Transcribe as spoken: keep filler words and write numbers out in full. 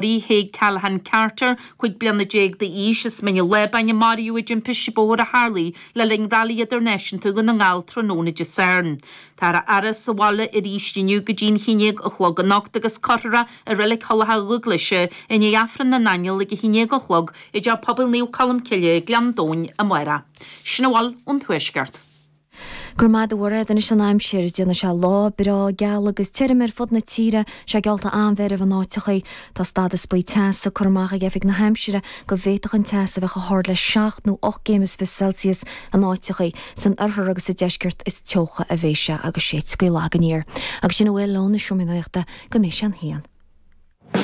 Haig Callahan Carter cúig bliana déag d'aois as Mín an Lábáin a maraíodh i dtimpiste bóthair a tharla le linn Rally Idirnáisiúnta Dhún na nGall tráthnóna Dé Sathairn. Tá a fhaire sa bhaile arís inniu go dtí a haon déag a chlog anocht agus cuirfear é i Reilig Thulach Dhúglaise i ndiaidh Aifreann na nAingeal ag a haon déag a chlog i dTeach Pobail Naomh Colm Cille Gleann Domhain amárach. Sin a bhfuil ón Tuaisceart. Gur maith do anois an aimsir déanfaidh sé lá breá geal agus tirim ar fud na tíre sé geallta an-mheirbh in áiteachaí. Tá stádas buí teasa curtha amach ag Oifig na hAimsire go bhféadfadh an teas a bheith chomh hard le seacht nó ocht gcéim is fiche Celsius in áiteachaí san oirthear agus sa deisceart is teocha a bheidh sé agus séidfidh gaoth lag aniar. Agus sin a bhfuil ó na seomraí nuachta go mbeidh sé an haon.